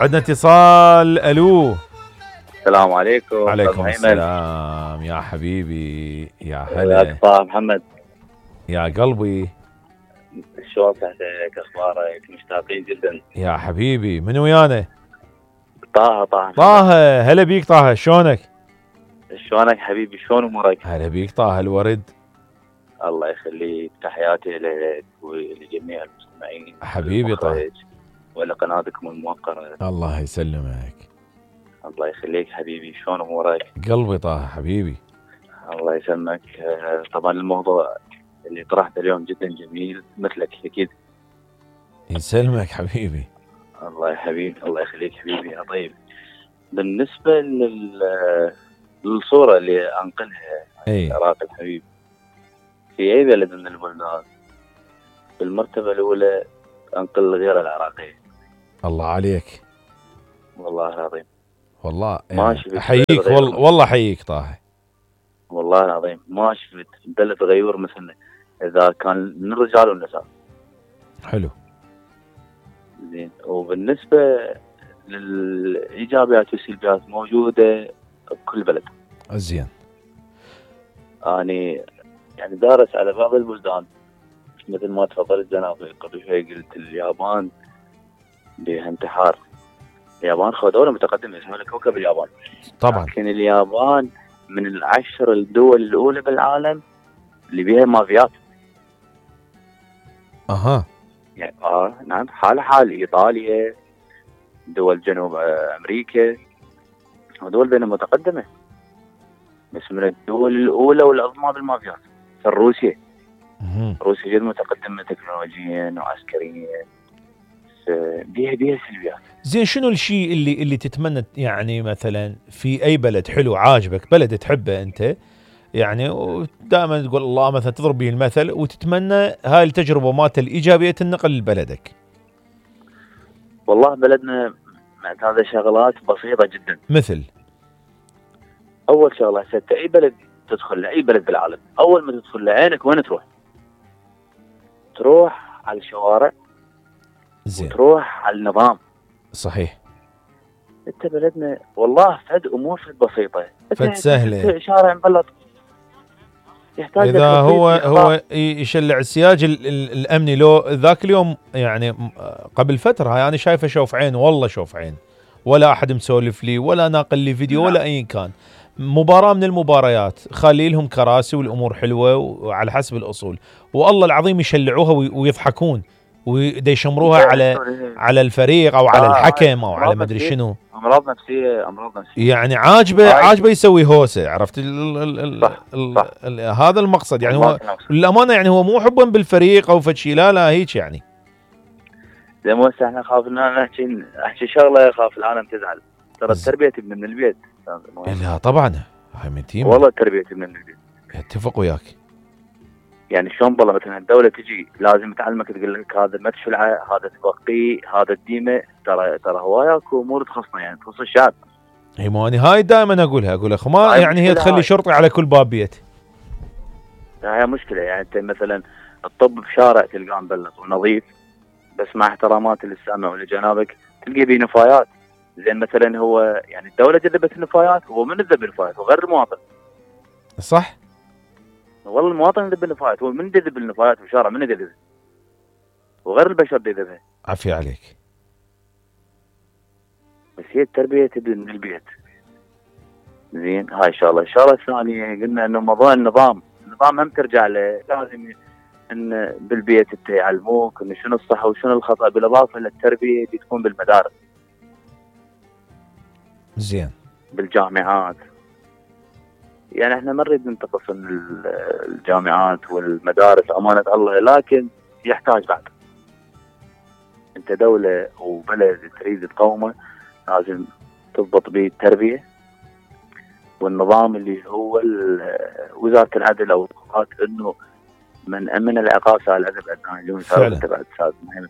عندنا اتصال. الو السلام عليكم. عليكم السلام يا حبيبي، يا هلا طه محمد، يا قلبي، شلون صحتك؟ اخبارك؟ مشتاقين جدا يا حبيبي. من ويانا؟ طه هلا بيك طه، شلونك؟ شلونك حبيبي؟ شلون امورك؟ هلا بيك طه الورد. الله يخليك، تحياتي لك ولجميع المستمعين حبيبي طه، ولقناتكم الموقرة. الله يسلمك. الله يخليك حبيبي، شلون امورك؟ قلبي طه حبيبي، الله يسلمك. طبعا الموضوع اللي طرحته اليوم جدا جميل مثلك اكيد. يسلمك حبيبي. الله حبيبي، الله يخليك حبيبي يا طيب. بالنسبة للصورة اللي انقلها عن العراق الحبيب، في اي بلد من البلدان بالمرتبة الاولى انقل غير العراقية. الله عليك، والله العظيم، والله ما شفت احييك، والله احييك طه، والله العظيم ما شفت بلد غيور مثلنا، اذا كان من الرجال والنساء. حلو زين. وبالنسبة للايجابيات والسلبيات موجودة بكل بلد. زين. اني يعني دارس على بعض البلدان مثل ما تفضلت جنابي قبل شوي، قلت اليابان بها انتحار. اليابان دولة متقدمة اسمها كوكب اليابان طبعا، لكن اليابان من العشر الدول الاولى بالعالم اللي بيها مافيات. يعني نعم، حال ايطاليا، دول جنوب امريكا، ودول بينها متقدمة، بس من الدول الاولى والعظمى بالمافيات. روسيا جدا متقدمة تكنولوجيا وعسكريا، بيها سلبيات. زين، شنو الشيء اللي تتمنى يعني مثلا في اي بلد حلو عاجبك، بلد تحبه انت يعني، ودائما تقول الله مثلا تضرب به المثل وتتمنى هاي التجربه مالت الايجابيه تنقل لبلدك؟ والله بلدنا معتاد شغلات بسيطه جدا. مثل اول شغله، حتى اي بلد تدخل لاي بلد بالعالم، اول ما تدخل لعينك وين تروح على الشوارع. زين. وتروح على النظام. صحيح. انت بلدنا والله فد امور فد بسيطه، فد سهله، شارع مبلط يحتاج اذا هو يشلع السياج الامني. لو ذاك اليوم يعني قبل فتره يعني شايفه شوف عين، والله شوف عين، ولا احد مسولف لي ولا ناقل لي فيديو ولا اي كان. مباراه من المباريات خلي لهم كراسي والامور حلوه وعلى حسب الاصول، والله العظيم يشلعوها ويضحكون ويشمروها على الفريق او على الحكم او على مدري شنو. امراض نفسيه يعني عاجبه يسوي هوسه، عرفت هذا المقصد يعني. هو للامانه يعني هو مو حبا بالفريق او فشي، لا هيك يعني. زي ما احنا خافنا احكي شغله خاف العالم تزعل. ترى التربيه تبني من البيت. لا طبعا هاي من تيم، والله التربيه تبني من البيت. اتفق وياك. يعني شلون بالله مثلا الدوله تجي لازم تعلمك، تقول لك هذا ما تشلعه، هذا توقيه، هذا الديمه. ترى هوايه اكو امور تخصنا، يعني تخص الشعب. اي ماني هاي دائما اقولها اخو، ما يعني هي تخلي شرطي على كل باب بيت. هاي مشكله. يعني انت مثلا الطب بشارع تلقاه مبلط ونظيف، بس مع احترامات للسامع ولجنابك تلقي بيه نفايات. زين مثلا هو يعني الدوله جذبت النفايات، هو من يذب النفايات؟ وغير المواطن. صح. والله المواطن يذب النفايات، هو من يذب النفايات بالشارع؟ من يذبها؟ وغير البشر يذبها. عافية عليك. بس هي التربيه تبدا من البيت. زين. هاي الشغله. الشغله الثانيه قلنا انه موضوع النظام هم ترجع له. لازم ان بالبيت يعلموك انه شنو الصح وشنو الخطا، بالاضافه للتربيه اللي تكون بالمدارس. زين. بالجامعات. يعني احنا ما نريد ننتقص من الجامعات والمدارس امانه الله، لكن يحتاج بعد. انت دوله وبلد تريد تقومه، لازم تضبط به التربيه والنظام اللي هو وزاره العدل او القضاء، انه من امن العقاب سال الادب ادنى اليوم تبع استاذ مهم.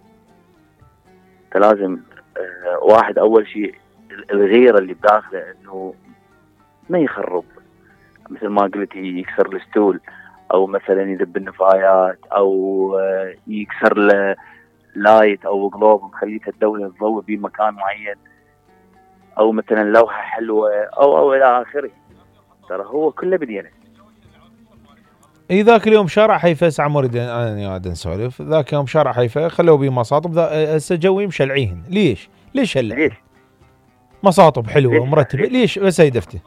فلازم واحد اول شيء الغيره اللي بداخله انه ما يخرب، مثل ما قلت يكسر الستول او مثلا يذب النفايات او يكسر له لايت او قلوب مخليته الدوله تضوي بمكان معين. او مثلا لوحه حلوه او الى اخره. ترى هو كله بدينه. اي ذاك اليوم شارع حيفا عمر انا قاعد نسولف، ذاك يوم شارع حيفا خلوا بيه مصاطب، هسه جوي مشلعيهن. ليش هلا؟ ليش؟ مصاطب حلوه ومرتبه، ليش بس هيدفته؟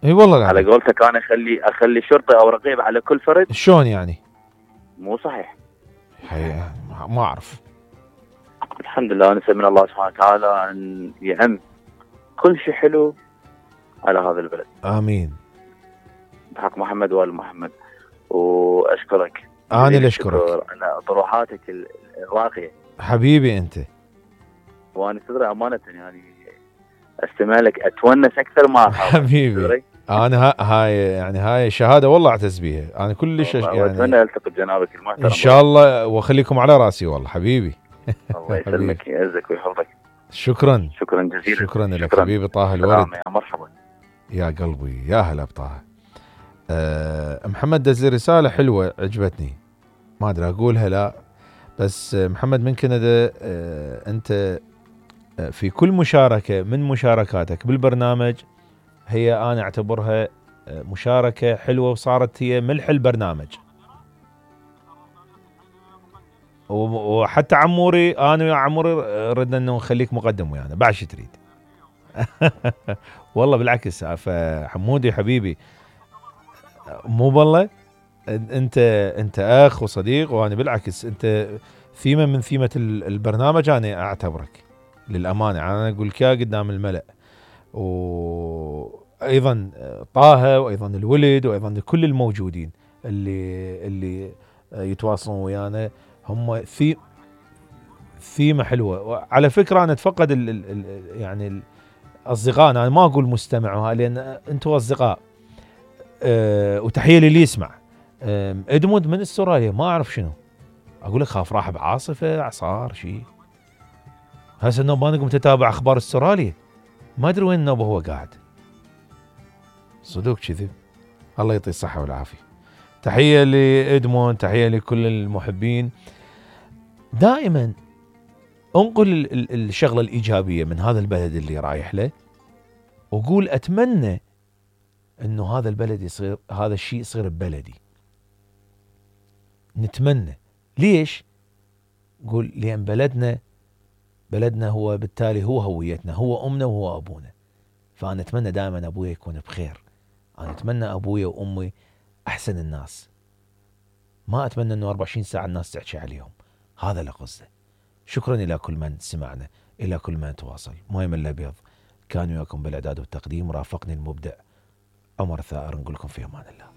اي والله على قولتك انا اخلي شرطي او رقيب على كل فرد؟ شلون يعني؟ مو صحيح. ما اعرف. الحمد لله نسأل من الله سبحانه وتعالى ان يعم كل شيء حلو على هذا البلد. امين. بحق محمد وآل محمد. واشكرك. انا اللي اشكرك على طروحاتك الراقيه. حبيبي انت. وانا تدري امانه يعني استمع لك اتونس اكثر ما حبيبي. انا هاي شهاده والله اعتز بيها، انا كلش يعني اتمنى التقي بجنابك المحترم ان شاء الله، واخليكم على راسي والله حبيبي. الله يسلمك يعزك ويحفظك. شكرا جزيلا. شكرا لك حبيبي طه الورد. يا مرحبا يا قلبي يا هلا بطه. محمد دز لي رساله حلوه عجبتني، ما ادري اقولها لا، بس محمد من كندا، انت في كل مشاركه من مشاركاتك بالبرنامج هي انا اعتبرها مشاركه حلوه، وصارت هي ملح البرنامج. وحتى عموري، انا ويا عموري ردنا انه نخليك مقدم ويانا بعد شو تريد. والله بالعكس، فحمودي حبيبي مو بالله، انت اخ وصديق، وانا بالعكس انت ثيمه من ثيمه البرنامج، انا اعتبرك للامانه، انا اقول لك قدام الملأ. وايضا طه، وايضا الولد، وايضا كل الموجودين اللي يتواصلون ويانا، هم ثيمه حلوه. وعلى فكره انا اتفقد يعني الاصدقاء، انا ما اقول مستمع لان انتم اصدقاء. وتحيه للي يسمع. ادموند من استراليا، ما اعرف شنو اقول لك، خاف راح بعاصفه اعصار شيء. هسه النوب ما نقوم تتابع اخبار استراليا، ما ادري وين النوب هو قاعد. صدق كذب. الله يعطيه الصحه والعافيه. تحيه لادموند، تحيه لكل المحبين. دائما انقل الشغله الايجابيه من هذا البلد اللي رايح له، وقول اتمنى انه هذا البلد يصير، هذا الشيء يصير ببلدي. نتمنى. ليش؟ قول لان بلدنا هو بالتالي هو هويتنا، هو امنا وهو ابونا. فانا اتمنى دائما ابويا يكون بخير، انا اتمنى ابويا وامي احسن الناس، ما اتمنى انه 24 ساعه الناس تحكي عليهم. هذا اللي قصده. شكرا الى كل من سمعنا، الى كل من تواصل. مهم الابيض كان وياكم بالاعداد والتقديم، رافقني المبدع عمر ثائر. نقول لكم في امان الله.